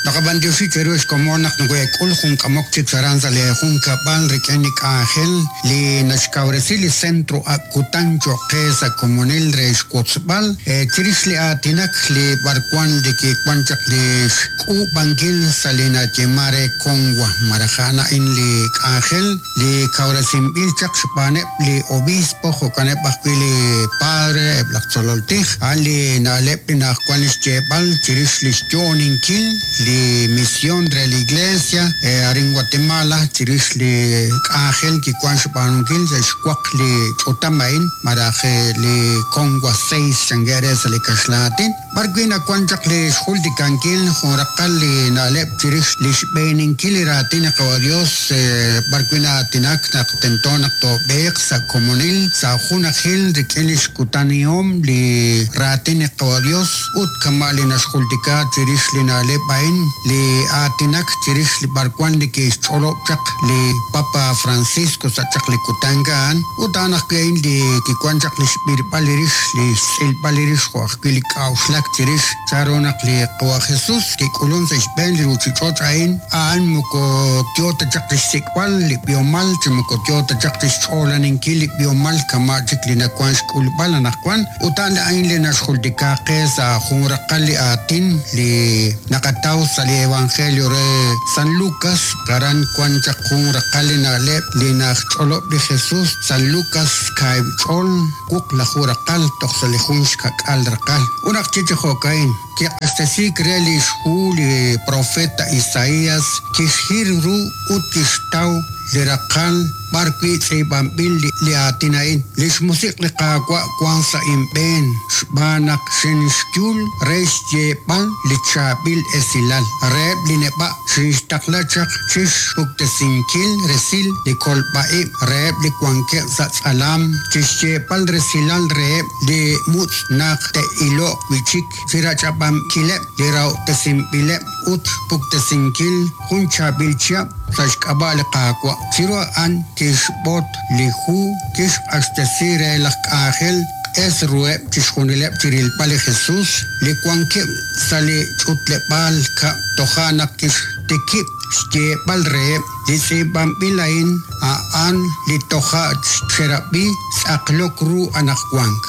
Naqab'antioxi cheru xkomon naq nokoheek'ul jun k'amok chik aran sa' lee junkab'al rik'in li k'anjel li naxkawresi li Centro Ak' Kutan cho'q qe sa' komonil re xwotzb'al chirix li aatinak li b'arwan li kiwan chaq li xk'uub'ankil sa' li nayeeman re Conwa malaj a'an a'in li k'anjel li kawresinb'il chaq xb'aaneb' li obispo jo'kaneb' ajwi' li padre eb' laj tzolol tij, a'an li na'leb' li na'ajwan xyeeb'al chirix li xyo'oninkil li mision re li Iglesia arin Guatemala chirix li k'anjel kiwan xb'aanunkil sa' xwaq li ch'utam a'in malaj li Conwa 6 chankeb' re sa' li kaxlan aatin. B'ar wi' nawan chaq li xjultikankil jun raqal li na'leb' chirix li xb'eeninkil li raatin li Qawa' Dios, b'ar wi' na'aatinak naq tento naq toob'eeq sa' komonil, sa' junajil rik'in li xkutanihom li raatin li Qawa' Dios ut kama' li naxjultika chirix li na'leb' a'in, li aatinak chirix li b'arwan li kixch'olob' chaq li Papa Francisco sa' chaq li kutan a'an, ut a'an ajwi' a'in li kiwan chaq li xb'irb'al li rix, li xtz'ilb'al li rix jo' ajwi' li k'a'uxlak chirix chanru naq li Qawa' Jesus kik'ulun sa' xb'een li ruuchich'och' a'in, a'an moko yo ta chaq chixsik'b'al li b'ihomal chi moko yo ta chaq chixch'oolaninkil li b'ihomal kama' chik li nawank xk'ulb'al anaqwan, ut a'an a'in li naxjultika qe sa' jun raqal li aatin li naqataw sa' li Evangelio re San Lucas, aran wank chaq jun raqal li na'leb' li naxch'olob' li Jesus, San Lucas kaahib' ch'ol. Wuqlaju raqal toj sa' li jun xka'k'aal raqal. Ut naq chi chi jo'ka'in, kiq'axtesiik re li xhu li profeta Isaías, kixhir ru ut kixtaw li raqal b'ar wi' tz'iib'anb'il li aatin a'in, Lix Musiq' li Qaawa' wan sa' inb'een, xb'aan naq xinxyul re xyeeb'al li chaab'il esilal reheb' li neb'a'. Xinxtaqla chaq chi xpuktesinkil resil li kolb'a-ib' reheb' li wankeb' sa' tz'alam, chi xyeeb'al resilal reheb' li mutz' naq te'ilo'q wi' chik, chi rach'ab'ankileb' li rahob'tesinb'ileb' ut xpuktesinkil jun chaab'il chihab' sa' xk'ab'a' li Qaawa'. Chiru a'an kixb'ot li hu kixq'axtesi re laj k'anjel q'es ruheb' chixjunileb' chi rilb'al li Jesus li wankeb' sa' li ch'utleb'aal kab'l. Toja' naq kixtikib' xyeeb'al reheb', Li tz'iib'anb'il a'in a'an li toja' xerab'i tz'aqlok ru anaqwank.